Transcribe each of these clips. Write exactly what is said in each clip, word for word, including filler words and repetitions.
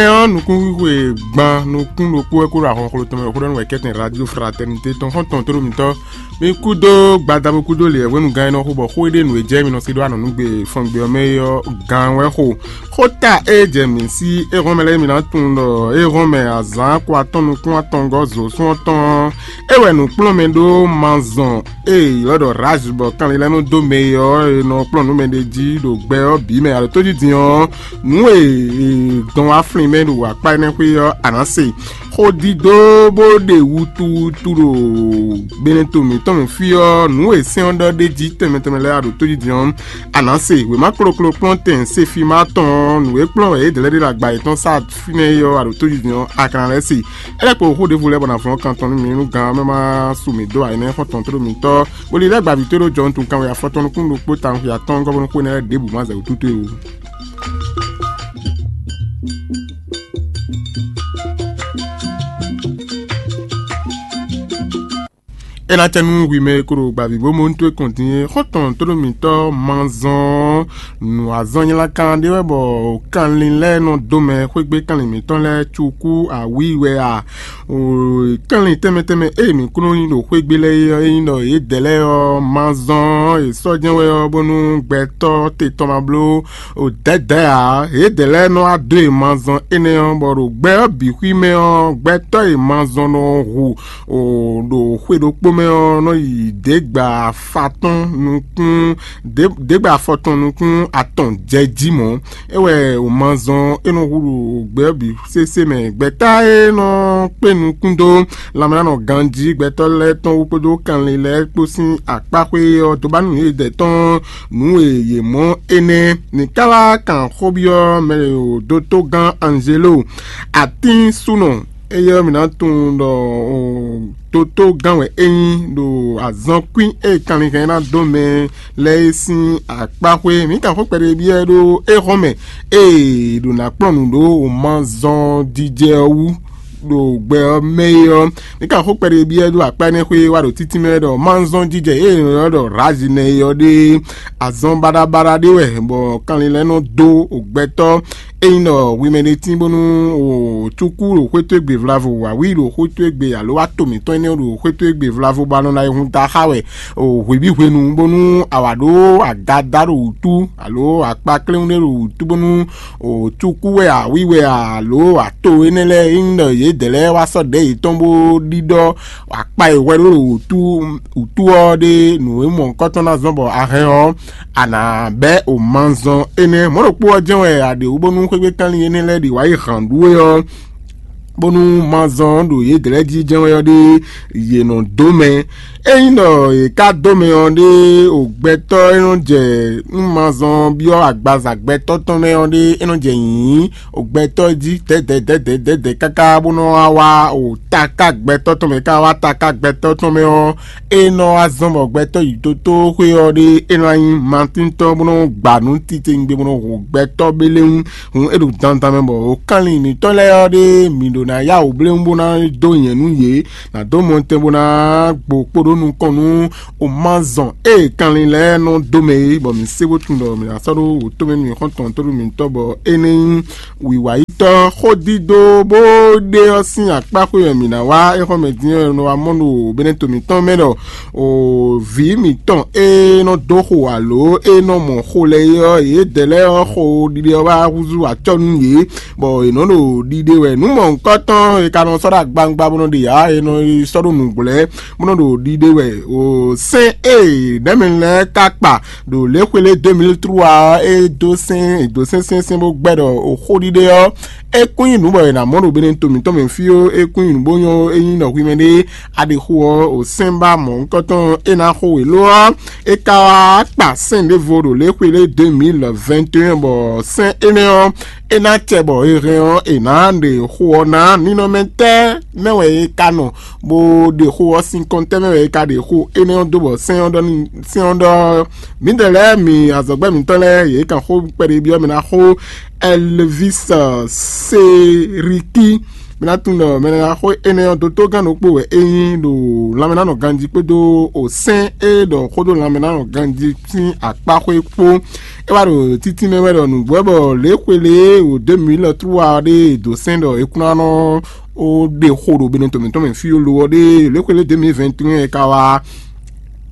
Ɔ́, nukúnxwixwe gban nukún ɖokpó wɛ kó ɖo ahɔnxló tɔn mɛ, xó ɖɔ nú wɛ kɛ́tɛn Radio Fraternité tɔn xɔ́ntɔn tó ɖo mitɔn. Mi kúdó gbadabo kúdó lě hwenu gán e nɔ xo bɔ xó e ɖe nǔ e jɛ mi nɔ se ɖó anɔ̌nugbe fɔngbe ɔ́ mɛ é ɔ́, gán wɛ xo. Xóta e jɛ mǐ sí éhɔ́n mɛ lɛ́ɛ mi ná tunwun ɖɔ éhɔ́n mɛ azǎn ko atɔn nukún atɔngɔ́ zǒsún ɔ́ tɔn ɔ́, é wɛ nǔkplɔ́nmɛ ɖó mazɔn e è ylɔ́ ɖɔ Raz bɔ kanlin lɛ́ɛ nɔ dó mɛ e ɔ́, è nɔ kplɔ́n nǔ mɛ ɖé jí ɖo gbɛ ɔ́ bǐ mɛ. Alǒ tójí din ɔ́, nǔ e è dɔn wá flín mɛ ɖo akpá énɛ́ xwé ɔ́, a nǎ se. Xódídó bó ɖe wutuwutu ɖo gbeɖɛnto mǐtɔn mɛ fí ɔ́, nǔ e sɛ́n ɔ́ ɖɔ ɖ'é jí tɛnmɛ tɛnmɛ lɛ́ɛ ɖo tójí din ɔ́, a nǎ se. Wěma kloklo kplɔ́ntɛn Sefima tɔn ɔ́, nǔ e kplɔ́n wɛ yě dlɛ́ ɖe ɖo agba yětɔn sá fínɛ́ é ɔ́, a ɖo tójí din ɔ́, a ka ná lɛ́ se. É lɛ́ kpo xó ɖěvo lɛ́ɛ bɔ nǎ vlɔ́ kan tɔn nú mi nú gǎn ɔ́ mɛ ma su mǐ dó ayinɛ xɔ́ntɔn tló mitɔ́, bó lilɛ́ gbavǐ towe ɖó jɔhɔn tun kanwe afɔtɔn nukún ɖokpó tawun xwe atɔ́ɔ́ngɔ́ bó nú xó énɛ́ lɛ́ɛ ɖěbǔ ma zɛ wǔ tútú e ó. É ná cɛ nú hwi mɛ e ko ɖo gbavǐ bó mɔ nú towe kɔn din é, xɔ́ntɔn tóɖó mǐtɔn ma zɔn nǔ azɔn nylá kan ɖé wɛ bɔ kanlin lɛ́ɛ nɔ dó mɛ xwé gbe kanlin mǐtɔn lɛ́ɛ cukú awǐi wɛ a? Kanlin tɛnmɛ tɛnmɛ ée mǐ kún nɔ nyi ɖo xwé gbe lɛ́ɛ é ɔ́, é nyí ɖɔ yědɛɛ lɛ́ɛ ɔ́ ma zɔn è sɔ́ jɛ́n wɛ ɔ́, bónú gbɛtɔ́ te tɔn ma bló dɛ̌dɛ̌ ǎ. Yědɛɛ lɛ́ɛ nɔ wá dó e ma zɔn énɛ́ ɔ́, bɔ ɖo gbɛ ɔ́ bǐ xwí mɛ ɔ́, gbɛtɔ́ e ma zɔn nɔ hu ɖo xwe ɖokpó mɛ ɔ́ nɔ yi děgba fatɔ́n nukún dě- děgba afɔtɔn nukún atɔn jɛ jí mɔ̌. É wɛ wǒ ma zɔn é nɔ hu ɖo gbɛ ɔ́ bǐ sésé mɛ. Gbɛ̌ta e nɔ kpé nukún dó lanmɛnánɔ ganjí gbɛtɔ́ lɛ́ɛ tɔn wú kpódó kanlin lɛ́ɛ kpó sín akpáxwé ɔ́ dó ba nú yědɛɛ tɔn nǔ e yě mɔ énɛ́. Ní ká wá kan xó byɔ́ mɛ e ɖo dótógán Anzelo, atín súnɔ, éyɛ́ ɔ́, mǐ ná tunwun ɖɔ dótógán wɛ é nyí ɖo azɔnkwín e kanlin hɛn ná dó mɛ lɛ́ɛ é sín akpáxwé. Mǐ kan xó kpɛɖé byɔ́ ɛ ɖó éhɔ́n mɛ, ée ɖo ná kplɔ́n nǔ ɖó wǒ ma zɔn jijɛ ɔ́ wú ɖo gbɛ ɔ́ mɛ é ɔ́. Mǐ kan xó kpɛɖé byɔ́ ɛ ɖó akpá énɛ́ xwé wá ɖo títí mɛ ɖɔ ma zɔn jijɛ ée è nɔ ylɔ́ ɖɔ Razinɛ é ɔ́ ɖe azɔn baɖabaɖa ɖé wɛ, bɔ kanlin lɛ́ɛ nɔ dó gbɛtɔ́. Ényí ɖɔ hwi mɛ ɖé tín bónú o cúkú ɖo xwé towe gbe vlavo, wǎwí ɖo xwé towe gbe, alo wá to mǐtɔn énɛ́ ɖo xwé towe gbe vlavo, bɔ a nɔ ná yi hun da xá wɛ o hwebǐ hwenu, bónú a wǎ ɖó aga da ɖo wǔtu, alo akpa kléwún ɖé ɖo wǔtu, bónú o cúkú wɛ a, wí wɛ a, alo ato énɛ́ lɛ́ɛ, ényí ɖɔ yědɛɛ lɛ́ɛ wá sɔ́ ɖɛ̌ yětɔn bó ɖiɖɔ akpa e hwɛ ɖó ɖo wǔtu wǔtu ɔ́ ɖe nǔ e mɔ̌hunkɔtɔn ná zɔ́n bɔ a hɛn ɔ́, a nǎ bɛ́ o ma zɔn énɛ́. Mɔ̌ ɖokpó ɔ́ jɛ́n wɛ a ɖe wú bónú xwé gbe kanlin énɛ́ lɛ́ɛ ɖi wǎ yi hǎn ɖú é ɔ́, bónú ma zɔn ɖo yědɛɛ lɛ́ɛ jí jɛ́n wɛ ɔ́ ɖe yě nɔ dó mɛ. Ényí ɖɔ yě ká dó mɛ ɔ́ ɖe, o gbɛtɔ́ e nɔ jɛ nú ma zɔn byɔ́ agbaza gbɛtɔ́ tɔn mɛ ɔ́ ɖe, é nɔ jɛ nyǐnyí o gbɛtɔ́ jí dɛ̌dɛ̌dɛ̌dɛ̌dɛ̌ káká bó nɔ wá wá o taká gbɛtɔ́ tɔn mɛ, ká wá taká gbɛtɔ́ tɔn mɛ ɔ́, é nɔ wá zɔ́n bɔ gbɛtɔ́ yi tótóxwé ɔ́ ɖe é nɔ wá nyí matíntɔ́ bó nɔ gba nǔ titewungbe bó nɔ hu gbɛtɔ́ béléwún. Hǔn é ɖo dandan mɛ bɔ o kanlin mǐtɔn lɛ́ɛ ɔ́ ɖe mǐ ɖo ná yá wǔ bléwún bó ná dó nyɛ̌ nú yě, ná dó mɔtɛn bó ná gbo kpo ɖó nukɔn nú o ma zɔn ée kanlin lɛ́ɛ nɔ dó mɛ é, bɔ mǐ sé bó tunwun ɖɔ mǐ ná sɔ́ ɖó wǔtɔ́ mɛ nú mǐ xɔ́ntɔn tó ɖo mǐtɔn bɔ énɛ́ nyí wǐwáyítɔ́. Xódídó bó ɖe ɔ́ sín akpá xwé wɛ mǐ ná wá éxɔ́ mɛ din ɔ́, è nɔ wá mɔ ɖo bɛ́nɛ́ to mǐtɔn mɛ ɖɔ o vǐ mǐtɔn e nɔ dó xo alo e nɔ mɔ xo lɛ́ɛ é ɔ́, yědɛɛ lɛ́ɛ ɔ́ xo ɖiɖe ɔ́ wá húzú acɔ́ nú yě, bɔ è nɔ ɖo ɖiɖe wɛ. Nǔ mɔ̌hunkɔtɔn e ka nɔ sɔ́ ɖo agbawungba bó nɔ ɖe ǎ, è nɔ yi sɔ́ ɖo nǔgblɛ́ bó nɔ ɖo ɖiɖe wɛ. O sɛ́n e nɛ̌ mɛ lɛ́ɛ ka kpa ɖo lě xwé lé deux mille trois ɔ́, é dó sɛ́n, è dǒ sɛ́n sɛ́nsɛ́n bó gbɛ́ ɖɔ o xóɖiɖe ɔ́, é kún nyí nǔ bɔ è nǎ mɔ ɖo Benɛto mǐtɔn mɛ fí ó, é kún nyí nǔ bó nyɔ́ ó, é nyí nɔ hwi mɛ ɖé a ɖe xo ɔ́, o sɛ́n ba mɔ̌hunkɔtɔn e ná xo wě lo ɔ́, é ka wá kpa sɛ́n ɖěvo ɖo lě xwé lé deux mille vingt et un, bɔ sɛ́n énɛ́ ɔ́, é ná cɛ bɔ è hɛn ɔ́, è nǎ ɖe xo ɔ́ ná. Ninɔmɛ tɛ́ mɛ wɛ è ka nɔ bó ɖe xo ɔ́, sin kɔntɛ́ mɛ wɛ è ka ɖe xo énɛ́ ɔ́ dó bɔ sɛ́n ɔ́ ɖɔ n'i, sɛ́n ɔ́ ɖɔ mǐdɛɛ lɛ́ɛ mi azɔ̌gbɛ́ mǐtɔn lɛ́ɛ yě kan xó kpɛɖé byɔ́ mɛ ná xó Ɛlvis Seriki Mi ná tunwun ɖɔ mɛɖeɖaxó énɛ́ ɔ́, dótógán ɖokpó wɛ é nyí ɖo lanmɛnánɔ ganjí kpódó osɛ́n e ɖɔ xó dó lanmɛnánɔ ganjí sín akpáxwé kpó. É wá ɖo títínmɛ wɛ ɖɔ nǔgbó wɛ bɔ lě xwe lě e ɖo deux mille trois ɔ́ ɖe è dǒ sɛ́n ɖɔ é kún ná nɔ ó ɖe xo ɖo Benɛto mǐtɔn mɛ fí ó lo ɔ́ ɖe, lě xwe lě deux mille vingt et un e ka wá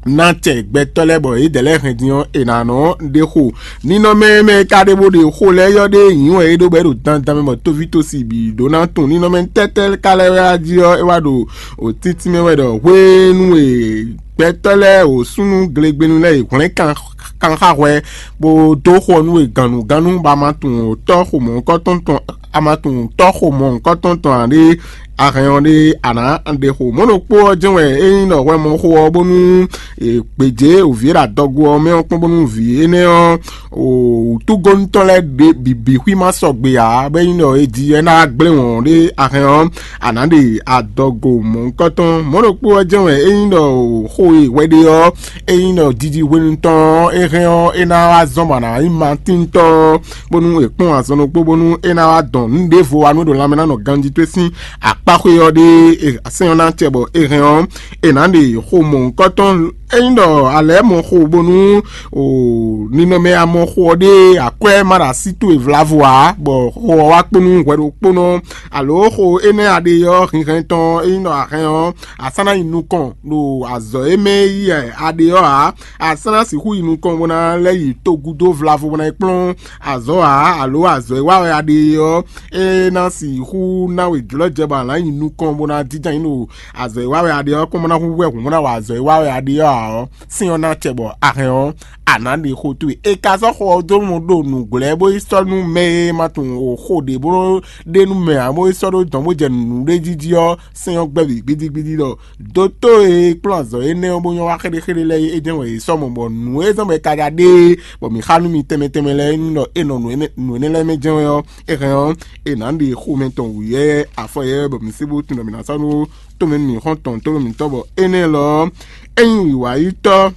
ná tɛ gbɛtɔ́ lɛ́ɛ bɔ yědɛɛ lɛ́ɛ hɛn din ɔ́, è nǎ nɔ ɖe xo. Ninɔmɛ mɛ e ka ɖe bó ɖe xo lɛ́ɛ yɔ́ ɖe nyǐ wɛ é ɖó bɔ é ɖo dandan mɛ bɔ tóví tósi bǐ ɖó ná tunwun. Ninɔmɛ tɛ́tɛ́ ka lɛ́ wɛ á jí ɔ́, é wá ɖo òtítí mɛ wɛ ɖɔ hwenu e gbɛtɔ́ lɛ́ɛ o súnnu glegbenu lɛ́ɛ e hwlɛ́n kan kan xá hwɛ, bó dó xɔ nú we gannugánnu, bɔ a ma tunwun tɔ́ xomɔ̌hunkɔtɔn tɔn, a ma tunwun tɔ́ xomɔ̌hunkɔtɔn tɔn ǎ ɖé, a hɛn ɔ́ ɖé, a nǎ ɖe xo. Mɔ̌ ɖokpó ɔ́ jɛ́n wɛ é nyí ɖɔ hwɛ mɔ xo ɔ́ bónú è gbějé wǔví e ɖo adɔgo ɔ́ mɛ ɔ́ kpɔ́n bónú vǐ énɛ́ ɔ́, wǔtúgónútɔn lɛ́ɛ ɖě bǐbí xwí ma sɔgbe ǎ, bɔ é nyí ɖɔ è ji ɛ ná wá gblé wɔ̌n ɖé, a hɛn ɔ́, a nǎ ɖe adɔgo mɔ̌hunkɔtɔn. Mɔ̌ ɖokpó ɔ́ jɛ́n wɛ é nyí ɖɔ xó e hwɛ ɖe ɔ́, é nyí ɖɔ jiji hwenu tɔn ɔ́, é hɛn ɔ́, é ná wá zɔ́n bɔ a nǎ nyí matíntɔ́, bónú è kpɔ́n azɔn ɖokpó bónú é ná wá dɔn nǔ ɖěvo wá nú é ɖo lanmɛ ná nɔ ganjí towe sín akpáxwé ɔ́ ɖe, sɛ́n ɔ́ ná acɛ bɔ é hɛn ɔ́, è nǎ ɖe xo mɔ̌hunkɔtɔn. Ényí ɖɔ a lɛ̌ mɔ xo bónú o ninɔmɛ a mɔ xo ɔ́ ɖe akwɛ́ ma ɖo así towe vlavo ǎ, bɔ xo ɔ́ wá kpó nú hwɛ ɖokpónɔ, alo xo énɛ́ a ɖe ɔ́ hinhɛn tɔn, ényí ɖɔ a hɛn ɔ́, a sɔ́ ná yi nukɔn ɖo azɔ̌ e mɛ yí wɛ a ɖe ɔ́ ǎ. A sɔ́ ná sixú yi nukɔn bó ná lɛ́ yi togúdo vlavo bó ná yi kplɔ́n azɔ̌ ǎ, alo azɔ̌ e wa wɛ a ɖe ɔ́, é ná sixú ná we jlɔ́ jɛ bɔ a nǎ yi nukɔn bó ná jínjɔ́n ayǐ ɖo azɔ̌ e wa wɛ a ɖe ɔ́ kɔn bó ná hu hwɛ hǔn bó ná wa azɔ̌ e wa wɛ a ɖe ɔ́ ǎ ɔ́, sɛ́n ɔ́ ná acɛ bɔ a hɛn ɔ́, a nǎ ɖe xó towe. È ka sɔ́ xó ɔ́ dó mɔ ɖo nǔglɛ́ bó yi sɔ́ nú mɛ e ma tunwun o xó ɖě bó ɖe nú mɛ ǎ, bó yi sɔ́ ɖó dɔ̌n bó jɛ nǔɖé jí jí ɔ́, sɛ́n ɔ́ gbɛ́ bǐ gbídígbídí ɖɔ dótó e kplɔ́n azɔ̌ énɛ́ ɔ́ bó nyɔ́ wá xéɖéxéɖé lɛ́ɛ é jɛ́n wɛ yě sɔ́ mɔ, bɔ nǔ e zɔ́n bɔ è ka ɖa ɖe é, bɔ mǐ xa nú mi tɛnmɛ tɛnmɛ lɛ́ɛ é nyí ɖɔ é nɔ nǔ énɛ́ nǔ énɛ́ lɛ́ɛ mɛ jɛ́n wɛ ɔ́, é hɛn ɔ́, è nǎ ɖe xomɛ tɔn wǔyɛ́ afɔ yɛ́ bɔ mǐ sé bó tunwun ɖɔ mǐ ná sɔ́ nú tomɛ nú mǐ xɔ́ntɔn tónú mǐtɔn, bɔ énɛ́ lɔ ɔ́, é nyí wǐwáyítɔ́.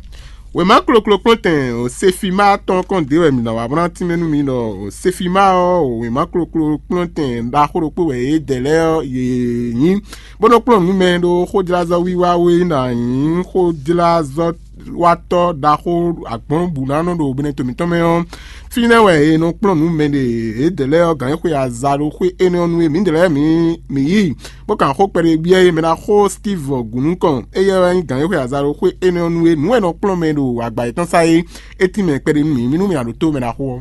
Wěma kloklo kplɔ́ntɛn Sefima tɔn kɔn ɖě wɛ mǐ ná wá bó ná tínmɛ nú mi ɖɔ Sefima ɔ́, wěma kloklo kplɔ́ntɛn ɖaxó ɖokpó wɛ yě dɛ lɛ́ɛ ɔ́, yě nyí, bó nɔ́ kplɔ́n nǔ mɛ ɖó xójlázɔ́ wiwa wé ná nyí xójlázɔ́ watɔ́ ɖaxó agbɔ̌n bǔ ná nɔ ɖo Benɛto mǐtɔn mɛ ɔ́, fínɛ́ wɛ è nɔ kplɔ́n nǔ mɛ ɖe yědɛɛ lɛ́ɛ ɔ́, gǎn e xwe aza ɖo xwé énɛ́ ɔ́ nú é. Mǐdɛɛ lɛ́ɛ mǐ mǐ yí, bó kan xó kpɛɖé byɔ́ é. Mɛ ná xó Steve Gǔnúkɔn, éyɛ́ wɛ nyí gǎn e xwe aza ɖo xwé énɛ́ ɔ́ nú é. Nǔ wɛ nɔ kplɔ́n mɛ ɖo agba yětɔn sá é. É tín mɛ kpɛɖé nú mǐ, mí nú mǐ ná ɖótó mɛ ná xó ɔ́.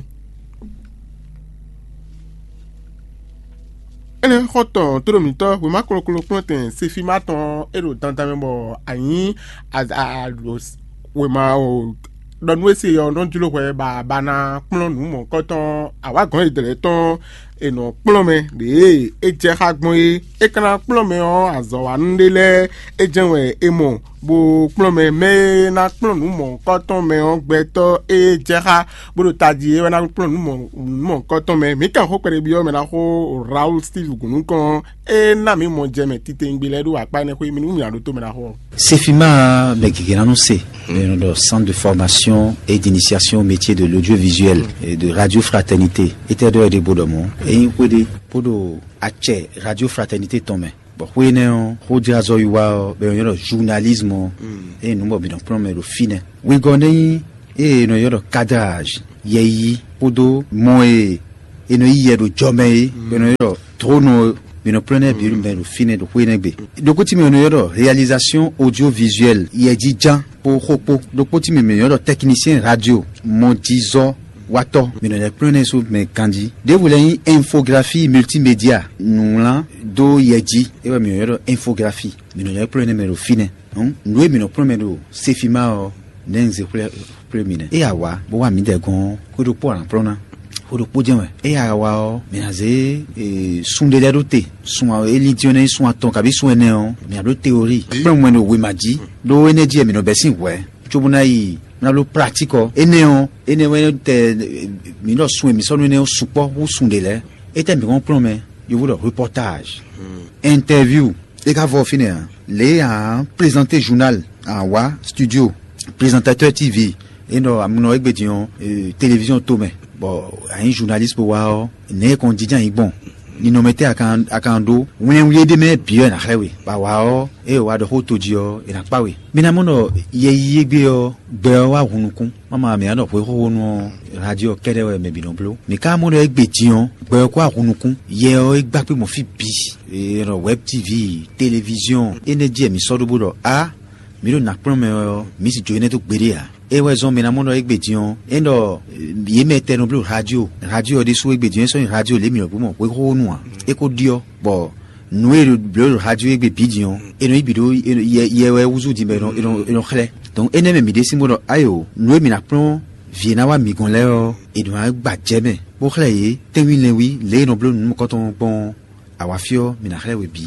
Énɛ́ xɔ́ntɔn tóɖo mǐtɔn wěma kloklo kplɔ́ntɛn Sefima tɔn e ɖo dandan mɛ bɔ a nyǐ wěma ɖɔ nú é se ɔ́ nɔ jló hwɛ bɔ a ba ná kplɔ́n nǔ mɔ̌hunkɔtɔn awǎgɔ́n e dlɛ̌ tɔn è nɔ kplɔ́n mɛ ɖě e é jɛ xá gbɔn é. É ka ná kplɔ́n mɛ ɔ́ azɔ̌wanú ɖé lɛ́ɛ é jɛ́n wɛ é mɔ, bó kplɔ́n mɛ mɛ e ná kplɔ́n nǔ mɔ̌hunkɔtɔn mɛ ɔ́ gbɛtɔ́ e jɛ xá bó ɖo tají é wɛ ná kplɔ́n nǔ mɔ̌ nǔ mɔ̌hunkɔtɔn mɛ. Mǐ kan xó kpɛɖé byɔ́ mɛ ná xó Raoul Steve Gǔnúkɔn, é ná mǐ mɔ jɛ mɛ titewungbe lɛ́ɛ ɖó akpá énɛ́ xwé mì nú mǐ ná ɖótó mɛ ná xó ɔ́. Sefima bɛ gěgé ná nú se, e nɔ ɖɔ Centre de Formation et d'Initiation au Métier de l'Audiovisuel et de Radio Fraternité. Étɛ́ ɖɔ é ɖe bó ɖɔ mɔ̌? Ényí xwé ɖé bó ɖo acɛ Radio Fraternité tɔn mɛ, bɔ xwé énɛ́ ɔ́, xójlázɔ́ wiwa ɔ́ bɛ nyɔ́ ɖɔ journalisme ɔ́, ényí nǔ bɔ mǐ nɔ kplɔ́n mɛ ɖo fínɛ́. Wegɔ́ nɛ́ nyí ée è nɔ ylɔ́ ɖɔ cadrage, yɛyi kpódó mɔ e è nɔ yí yɛ ɖo jɔ mɛ é, bɔ è nɔ ylɔ́ ɖɔ trône ɔ́, mǐ nɔ kplɔ́n nɛ́ bǐ mɛ ɖo fínɛ́ ɖo xwé nɛ́ gbe. Ɖokpó tí mɛ è nɔ ylɔ́ ɖɔ réalisation audiovisuelle, yɛjínján kpó xó kpó. Ɖokpó tí mɛ mǐ nɔ ylɔ́ ɖɔ technicien radio, mɔjizɔ́ watɔ́, mǐ nɔ lɛ́ kplɔ́n nɛ́ sú mɛ ganjí. Ɖěvo lɛ́ɛ nyí infographie multimédia, nǔwlán dó yɛ jí, é wɛ mǐ nɔ ylɔ́ ɖɔ infographie, mǐ nɔ lɛ́ kplɔ́n nɛ́ mɛ ɖo fínɛ́. Hǔn nǔ e mǐ nɔ kplɔ́n mɛ ɖo Sefima ɔ́, nɛ̌ un zé xwlé xwlé mi nɛ́. Ée a wǎ bó wá mǐdɛɛ gɔ́n ɔ́, xwé ɖokpó a nǎ kplɔ́n ná. Xwé ɖokpó jɛ́n wɛ. Ée a wá ɔ́, mǐ ná zé sun ɖé lɛ́ɛ ɖó te. Sun e lídí ɔ́ ná nyí sun atɔn kabí sun ɛnɛ ɔ́, mǐ ná bló teorí. Kplɔ́n mɛ ɖo wěma jí, ɖó énɛ́ jí wɛ mǐ nɔ bɛ́ sín hwɛ̌, cóbó ná yi ná bló pratík ɔ́. Énɛ́ ɔ́, énɛ́ wɛ tɛ mǐ ɖɔ sun e mǐ sɔ́ nú énɛ́ ɔ́ sukpɔ́ hú sun ɖě lɛ́ɛ. Étɛ́ mǐ hɔn kplɔ́n mɛ? Yovo ɖɔ reportage, interview. É ka vɔ fínɛ́ ǎ. Lě e a plezanté journal, a wá studio, plezantatɛ́ T V, é nɔ amúnɔ égbé din ɔ́, téléviziɔn tomɛ, bɔ a nyí journaliste bó wá ɔ́, nɛ̌ é kɔn jínjɔ́n ayǐ gbɔn? Ninɔmɛ tɛ́ a kan a kan ɖó? Wlɛnwlí e ɖ'é mɛ bǐ wɛ è nǎ xlɛ́ we, bɔ a wǎ ɔ́, ée è wá ɖɔ xó tojí ɔ́, è nǎ kpá we. Mi ná mɔ ɖɔ yɛ yíyí égbé ɔ́, gbɛ ɔ́ wá hun nukún. Má ma mǐ á ɖɔ hwexóxónú ɔ́, radio ɔ́ kɛ́ɖɛ́ wɛ mɛ bǐ nɔ bló. Mǐ ka mɔ ɖɔ égbé din ɔ́, gbɛ ɔ́ kó wá hun nukún. Yɛ ɔ́ é gbá kpé mɔ fí bǐ. È nɔ wɛb T V, téléviziɔn, énɛ́ jí wɛ mǐ sɔ́ ɖó bó ɖɔ á, mǐ ɖo nǎ kplɔ́n mɛ ɔ́, mǐ sì jó énɛ́ dó gbeɖé ǎ. É wɛ zɔ́n mɛ ná mɔ ɖɔ égbé din ɔ́, é ɖɔ yě mɛ tɛn nɔ bló radio. Radio ɔ́ ɖésú égbé din ɔ́, é sɔ́ nyi radio lě mǐ nɔ gbó mɔ hwexóxónú ǎ. É ko ɖyɔ́, bɔ nǔ e è blǒ ɖo radio égbé bǐ din ɔ́, è nɔ yi bǐ ɖó yɛ wɛ húzú din bɔ è nɔ xlɛ́. Donc énɛ́ mɛ mǐ ɖésú bó ɖɔ ayo, nǔ e mǐ ná kplɔ́n vǐ e ná wá mǐ gɔ́n lɛ́ɛ ɔ́, è nɔ wá gba jɛ mɛ, bó xlɛ́ yě tɛ́nwí lɛ́nwí lě e è nɔ bló nǔ nukɔntɔn gbɔn ɔ́, awǎfí ɔ́, mǐ ná xlɛ́ we bǐ.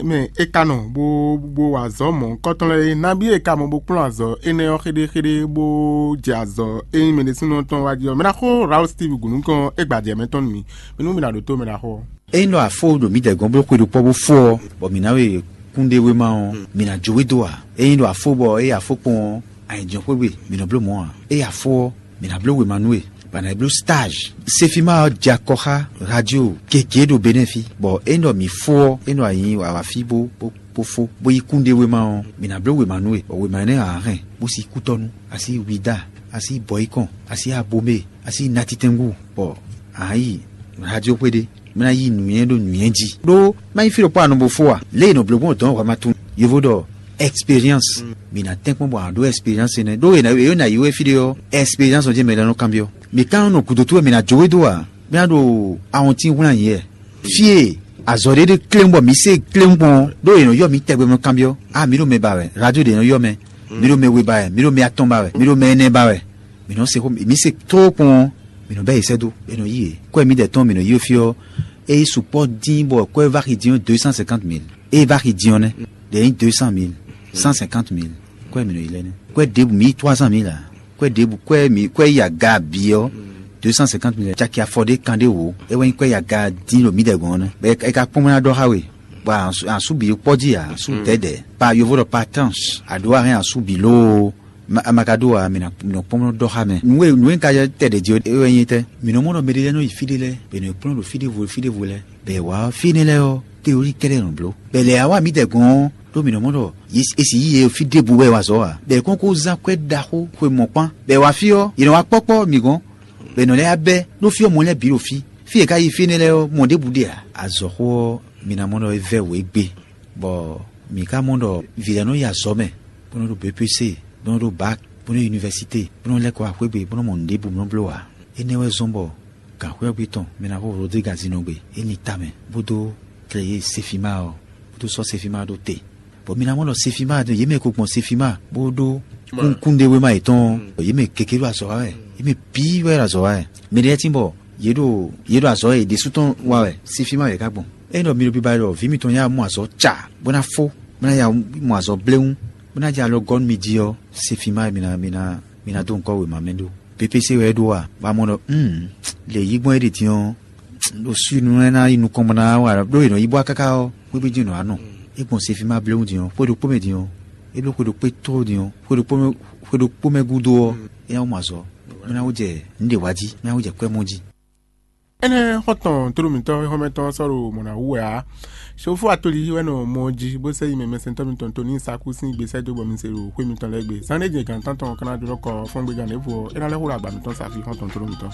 Mɛ e ka nɔ bó bó wa azɔ̌ mɔ̌hunkɔtɔn lɛ́ɛ é, nabí e ka mɔ bó kplɔ́n azɔ̌ énɛ́ ɔ́ xéɖéxéɖé bó jɛ azɔ̌ e nyí mɛ ɖésúnɔ tɔn wá jí ɔ́, mɛ ná xó Raoul Steve gǔnukɔn é gba jɛ mɛ tɔn nú mì. Mi nú mi ná ɖótó mɛ ná xó ɔ́. Ényí ɖɔ a fó ɖo mǐdɛɛ gɔ́n bló xwe ɖokpɔ́ bó fó ɔ́, bɔ mǐ ná we kúnɖéwéma ɔ́, mǐ ná jó we dó ǎ. Ényí ɖɔ a fó bɔ ée a fó kpɔ́n ɔ́, a nyi jɔxwé gbe, mǐ nɔ bló mɔ̌ ǎ. Ée a fó ɔ́, mǐ ná bló wěma nú we, bɔ a nǎ yi bló stage. Sefima ɔ́ jɛ akɔ xá radio gěgé ɖo Benɛ́ɛ fí, bɔ ényí ɖɔ mǐ fó ɔ́, é nɔ nyi awǎ fí bó bó bó fó, bó yí kúnɖéwéma ɔ́, mǐ ná bló wěma nú we, bɔ wěma énɛ́ ǎ hɛn, bó sí kútɔ́nú, a sí Ouidah, a sí Bɔ̌yikɔn, a sí Abomé, a sí Natitɛngu, bɔ a nǎ yi radio xwé ɖé, mí ná yí nǔnywɛ́ ɖo nǔnywɛ́ jí. Ɖó má nyí fí ɖokpó a nɔ bo fó a, lě e è nɔ bló gbɔn dɔ̌n wǎ ma tunwun. Yovo ɖɔ expérience. Mǐ ná tɛ́nkpɔ́n bɔ a ɖó expérience énɛ́. Ɖó è nǎ ná yi wɛ fí ɖé ɔ́, expérience ɔ́ jɛ́n mɛ lɛ́ɛ nɔ kanbyɔ́. Mǐ ka nɔ nɔ gǔdo towe mǐ ná jó we dó a, mí ná ɖo awɔntín hwlán yě. Fí e azɔ̌ ɖé ɖé kléwún bɔ mǐ se kléwún gbɔn ɔ́, ɖó è nɔ ylɔ́ mǐ tɛgbɛ mɛ kanbyɔ́. A mǐ ɖo mɛ ba wɛ, radio ɖě nɔ ylɔ́ mɛ, mǐ ɖo mɛ we ba wɛ, mǐ ɖo mɛ atɔn ba wɛ, mǐ ɖo mɛ ɛnɛ ba wɛ. Mǐ nɔ se xó mǐ se tló kpɔ́n ɔ́, mǐ nɔ bɛ́ yě sɛ́ dó, bɔ é nɔ yí yě. Kɔ́ e mǐdɛɛ tɔn mǐ nɔ yí fí ɔ́, é yi sukpɔ́ dín bɔ kɔ́ e va xi din ɔ́ deux cent cinquante mille. É va xi din ɔ́ nɛ́, ɖě nyí deux cent mille, cent cinquante mille. Kɔ́ e mǐ nɔ yí lɛ́ɛ nɛ́. Kɔ́ e ɖěbǔ mǐ yí trois cent mille ǎ. Kɔ́ e ɖěbǔ kɔ́ e mǐ kɔ́ e yi aga bǐ ɔ́, deux cent cinquante mille caki afɔ ɖé kan ɖé wǒ. É wɛ nyí kɔ́ e yi aga dín ɖo mǐdɛɛ gɔ́n ɔ́ nɛ́. Bɔ é ka kpɔ́n mɛ ná ɖɔ xá we, bɔ asú bǐ kpɔ́ jí ǎ, asú dɛ̌dɛ̌. Pa yovo ɖɔ pa tranche, a ɖǒ a hɛn asú bǐ lóo. Ma a ma ka ɖó ǎ, mǐ nɔ kpɔ́n nɔ ɖɔ xá mɛ. Nǔ e nǔ e un ka tɛ ɖě jí é wɛ nyí tɛ́? Mǐ nɔ mɔ ɖɔ mɛɖé lɛ́ɛ nɔ yi fí ɖé lɛ́ɛ, bɔ è nɔ yi kplɔ́n ɖo fí ɖěvo fí ɖěvo lɛ́ɛ, bɔ è wǎ ɔ́, fí énɛ́ lɛ́ɛ ɔ́, tewolí kɛ́ɖɛ́ nɔ bló. Bɔ è lɛ wá wá mǐdɛɛ gɔ́n ɔ́, ɖó mǐ nɔ mɔ ɖɔ è sì yí yě fí ɖěbǔ wɛ wá azɔ̌ ǎ. Bɔ è kɔn ko zán kwɛ́ ɖaxó xwe mɔ̌kpán, bɔ è wá fí ɔ́, yě nɔ wá kpɔ́kpɔ́ mǐ gɔ́n, bɔ è nɔ lɛ́ yá bɛ́ ɖó fí ɔ́ mɔ lɛ́ɛ bǐ ɖo fí. Fí e è ka yi fí énɛ́ lɛ́ɛ ɔ́, mɔ ɖěbǔ ɖe ǎ. Azɔ̌xó ɔ́, mi ná mɔ ɖɔ é vɛ́ wǔ égbé, bɔ mǐ ka mɔ ɖɔ vǐ lɛ́ɛ nɔ yi azɔ̌ mɛ, bó nɔ́ ɖo B P C, bó nɔ́ ɖó bac, bó nɔ́ yi univɛsité, bó nɔ́ lɛ́ kɔ wá xwé gbe, bó nɔ́ mɔ nǔɖé bǔ nɔ bló ǎ. Énɛ́ wɛ zɔ́n bɔ gǎnxwɛ́ ɔ́ gbe tɔn mɛ ná xo Rodrigue Azinɔgbe é nyi tamɛ, bó dó kleyé Sefima ɔ́, bó dó sɔ́ Sefima ɖó te. Bɔ mi ná mɔ ɖɔ Sefima, yě mɛ ko gbɔn Sefima bó ɖó kúnkúnɖéwéma yětɔn ɔ́, yě mɛ gěgé ɖo azɔ̌ wa wɛ, yě mɛ bǐ wɛ ɖo azɔ̌ wa wɛ. Mɛ ɖé lɛ́ɛ tín bɔ yě ɖo yě ɖo azɔ̌ yě ɖésú tɔn wa wɛ, Sefima wɛ yě ká gbɔn. Ényí ɖɔ mi ɖo biba ɖɔ vǐ mitɔn yá mɔ azɔ̌ ca, bó ná fó, bó ná ya mɔ azɔ̌ bléwún, bó ná jɛ alɔ gɔ́ nú mi jí ɔ́, Sefima wɛ mi ná mi ná mi ná dó ŋkɔ́ wěma mɛ ɖó. P P C wɛ é ɖó a? Bɔ a mɔ ɖɔ, lě yí gbɔn é ɖe din ɔ́, ɖo sú nú é ná yi nukɔn bɔ ná wa ɖó è nɔ yi bɔ káká ɔ́, xwé jí nɔ wá nɔ. É gbɔn Sefima bléwún din ɔ́, xwé ɖokpó mɛ din ɔ́, é bló xwé ɖokpó tló din ɔ́, xwé ɖokpó mɛ xwé ɖokpó mɛ gúdo ɔ́, é ná wú mɔ azɔ̌, bó ná wú jɛ nǔɖé wá jí, bó ná wú jɛ kwɛ́ mɔ jí. Énɛ́ xɔ́ntɔn tlóló mǐtɔn xɔ́mɛtɔn sɔ́ ɖo mɔ̌ ná wú wɛ ǎ. Sofú atoli wɛ nɔ mɔ jí bó sɛ yi mɛ mɛsɛntɔ́ mitɔn tó ní sakú sín gbe sɛ́ dó bɔ mi se ɖo xwé mitɔn lɛ́ɛ gbe. Zán ɖé jɛ gǎn tántɔn ɔ́ ká ná jlɔ́ kɔ fɔ́ngbégan ɖěvo ɔ́, é ná lɛ́ xo ɖo agba mitɔn sa fí xɔ́ntɔn tlóló mǐtɔn.